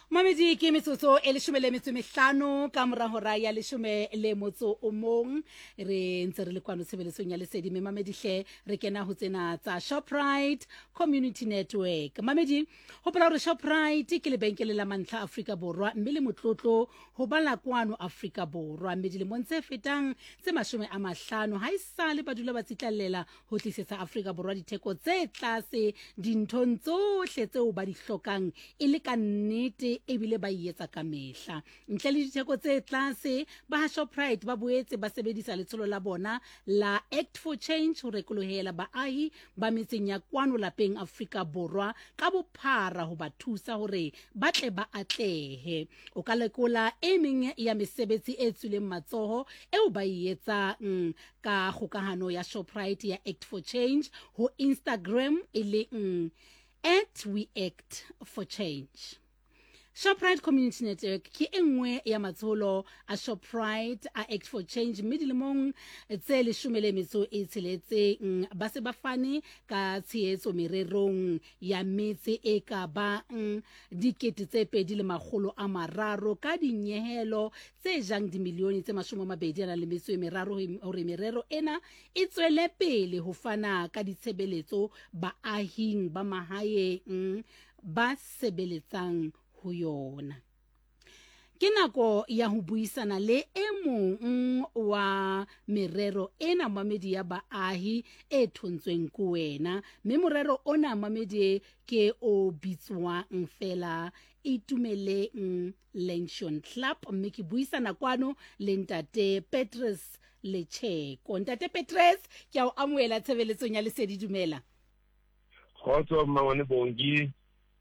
Mamedi ke metsotso e leshome le metso e mehlano ka mora hora ya leshome le motso o mong. Re ntse re le kwano tshebeletsong ya lesedi mme mamedi hle re kena ho tsena tsa Shoprite Community Network. Mamedi, hopola hore Shoprite ke lebenkele la mantlha Afrika Borwa mme le motlotlo ho ba la kwano Afrika Borwa. Mme dilemong tse fetang tse 50 ha esale ba dula ba tsitlallela ho tlisetsa Afrika Borwa ditheko tse tlase dinthong tsohle tseo ba di hlokang e le ka nnete ebile ba e etsa kamehla. Ntle le ditheko tse tlase, ba ha Shoprite ba boetse ba sebedisa letsholo la bona la Act for Change ho rekolohela baahi ba metseng ya kwano lapeng Afrika Borwa ka bophara ho ba thusa hore ba tle ba atlehe. O ka lekola e meng ya mesebetsi e tswileng matsoho eo ba e etsang ka kgokahano ya Shoprite ya Act for Change ho Instagram e leng at we act for change. Shoprite Community Network ke e nngwe ya matsholo a Shoprite a Act for Change mme dilemong tse leshome le metso e tsheletseng ba se ba fane ka tshehetso mererong ya metse e ka bang 2300 ka dinyehelo tse jang dimilione tse 23 hore merero ena e tswele pele ho fana ka ditshebeletso baahing ba mahaeng ba sebeletsang ho yona. Ke nako ya ho buisana le e mong wa merero ena mamedi ya baahi e thontsweng ke wena, mme morero ona mamedi ke o bitswang fela Itumeleng Luncheon Club, mme ke buisana kwano le ntate Petrus Lecheko. Ntate Petrus, ke a o amohela tshebeletsong ya Lesedi, dumela. Kgotso mmangwane Bongi.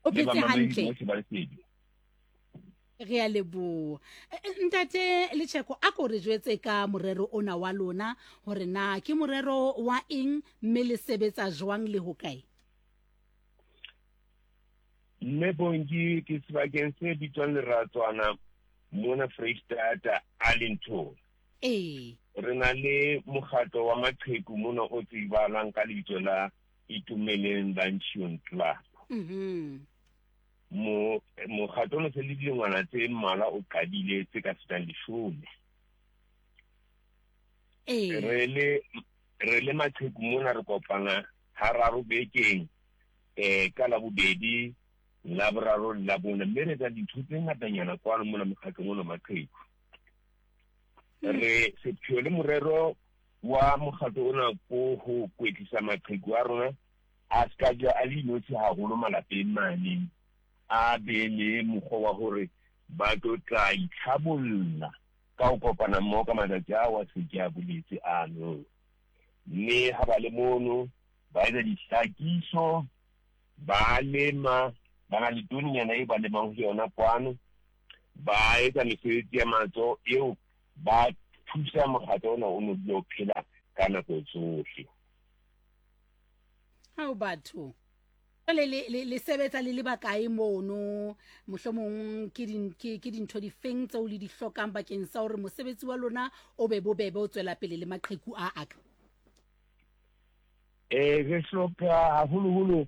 O phetse hantle? Re a leboha. Ntate Lecheko, a ko re jwetse ka morero ona wa lona hore na ke morero wa eng mme le sebetsa jwang le hokae? Mme Bongi, ke sebakeng se bitswang Leratswana mona Freistata, Arlington. Ee. Re na le mokgatlo wa maqheku mona o tsebahalang ka lebitso la Itumeleng Luncheon Club. Mo mokgatlo ono se le dilengwana tse mmalwa o qadile tse ka fetang leshome. Ee. Re le re le maqheku mona re kopana hararo bekeng eh ka Labobedi, Laboraro le Labone mme re etsa dintho tse ngatanyana kwano mona mokgatlong ono maqheku. Re sepheo le morero wa mokgatlo ona ko ho kwetlisa maqheku a rona a se ka ja a le inotshi haholo malapeng mane, a be le mokgwa wa hore ba tlo tla itlhabolla ka ho kopana mmoho ka matsatsi a wa se ke a boletse ano. Mme ha ba le mono ba etsa dihlakiso, ba lema, ba na le toninyana e ba lemang ho yona kwano, ba etsa mesebetsi ya matsoho eo ba thusa mokgatlo ona o no dula o phela ka nako tsohle. Hao batho. Jwale le, le, le sebetsa le le bakae mono? Mohlomong ke din, ke, ke dintho difeng tseo le di hlokang bakeng sa hore mosebetsi wa lona o be bobebe o tswela pele le maqheku a aka? Eh, re hloka haholoholo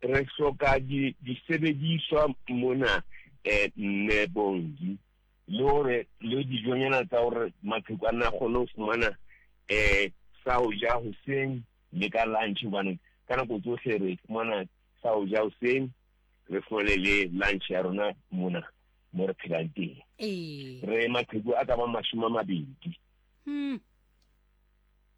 re hloka di disebediswa mona eh mme Bongi le hore le dijonyana tsa hore maqheku a nna kgone ho fumana eh sa ho ja hoseng le ka lunch, hobane ka nako tsohle re fumana sa ho ja hoseng, re fumane le lunch ya rona mona mo re phelang teng. Ee. Re maqheku a ka bang 20.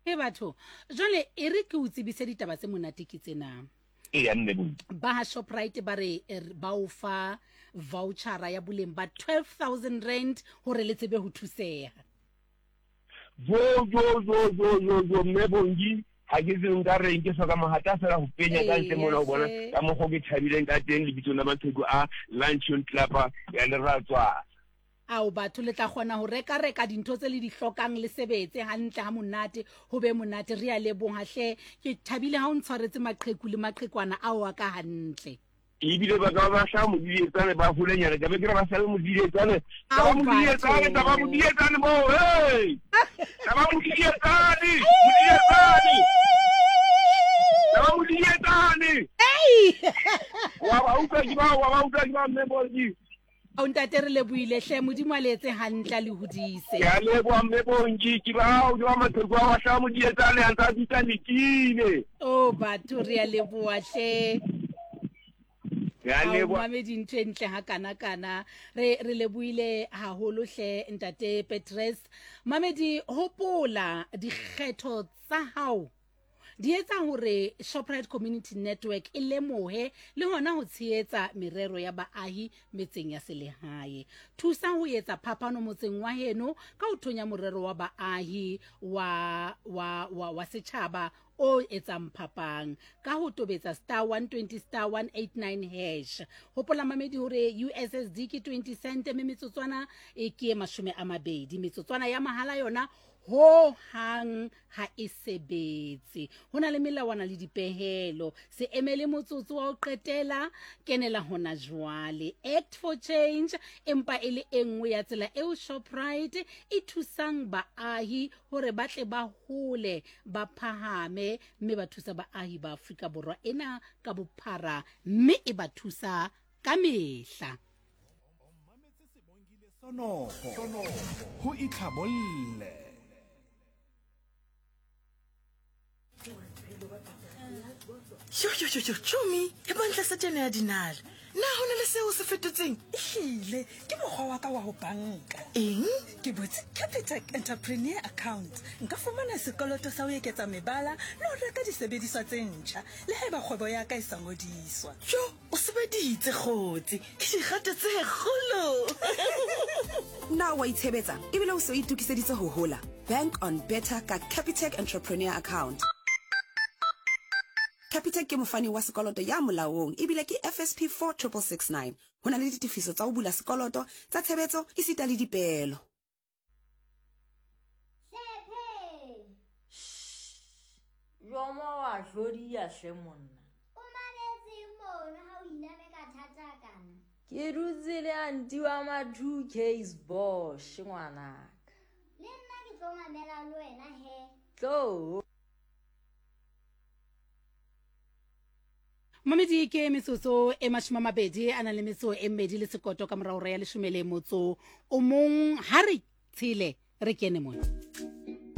He batho, jwale e re ke o tsebise ditaba tse monate ke tsena. Eya mme Bongi. Ba ha Shoprite ba re ba o fa vouchera ya boleng ba 12000 rand hore le tsebe ho thuseha. Jo jo jo jo jo jo mme Bongi, ha ke tsebe nka reng, ke hloka mohata fela ho penya ka ntle mona ho bona ka mokgwa ke thabileng ka teng lebitsong la maqheku a Luncheon Club ya Leratswana. Ao batho, le tla kgona ho reka-reka dintho tse le di hlokang, le sebetse hantle ha monate, ho be monate. Re a leboha hle. Ke thabile ha o ntshwaretse maqheku le maqhekwana ao a ka hantle. Ebile ba ka ba ba hlaha modidietsane ba holenyana, ka be ke re ba hlabe modidietsane. Taba modidietsane, taba modidietsane moo, hey! Taba modidietsane, modidietsane. Taba modidietsane. Hey! Wa ba utlwa ke ba, wa ba utlwa ke ba mme Bongi. Ao ntate re lebohile hle Modimo a le etse hantle a le hodise. Ke a leboha mme Bongi ke bao ke ba maqheku a wa Modietsane a ntse a bitsa Lekile. Oh batho re a leboha hle. Re a leboha. Mamedi ntho e ntle ha kana kana re re lebohile haholo hle ntate Petrus. Mamedi hopola dikgetho tsa hao di etsa hore Shoprite Community Network e lemohe le hona ho tshehetsa merero ya baahi metseng ya selehae. Thusa ho etsa phapano motseng wa heno ka ho thonya morero wa baahi wa, wa, wa, wa setjhaba o etsang phapang ka ho tobetsa star 120 star 189 hash. Hopola mamedi hore USSD ke 20 cent mme metsotswana e ke e 20. Metsotswana ya mahala yona Ho hang ha e sebetse. Ho na le melawana le dipehelo. Se emele motsotso wa ho qetela, kenela hona jwale. Act for Change empa e le e nngwe ya tsela eo Shoprite e thusang baahi hore ba tle ba hole, ba phahame mme ba thusa baahi ba Afrika Borwa ena ka bophara mme e ba thusa ka mehla. Sonopho ho itlhabolle. Yo, yo, yo, yo, tšomi, e bontle setšene ya dinale. Na go na le seo se fetotseng? Ehlile, ke mokgwa wa ka wa go banka. Eng? Ke butse Capitec Entrepreneur Account. Nka fumana sekoloto sa ho eketsa mebala le ho reka disebediswa tse ntjha, le haeba kgwebo ya ka e sa ngodiswa. Yo, O sebeditse kgotsi, ke dikgato tse kgolo. Na o a itshebetsa ebile o se o itokiseditse ho hola? Bank on Better ka Capitec Entrepreneur Account. Capitec ke mofani wa sekoloto ya molaong ebile ke FSP 4669. Ho na le ditefiso tsa ho bula sekoloto, tsa tshebetso esita le dipeelo. Jomo wa hlodiya hle monna. O mametseng mono ha o iname ka thata kana? Ke dutse le anti wa ma 2Ks Bosch ngwanaka. Le nna ke tlo mamela le wena he. Tlo. Mamedi ke metsotso e 20 a nang le metso e mmedi le sekoto ka morago ya leshome le motso o mong ha re tshele re kene mona.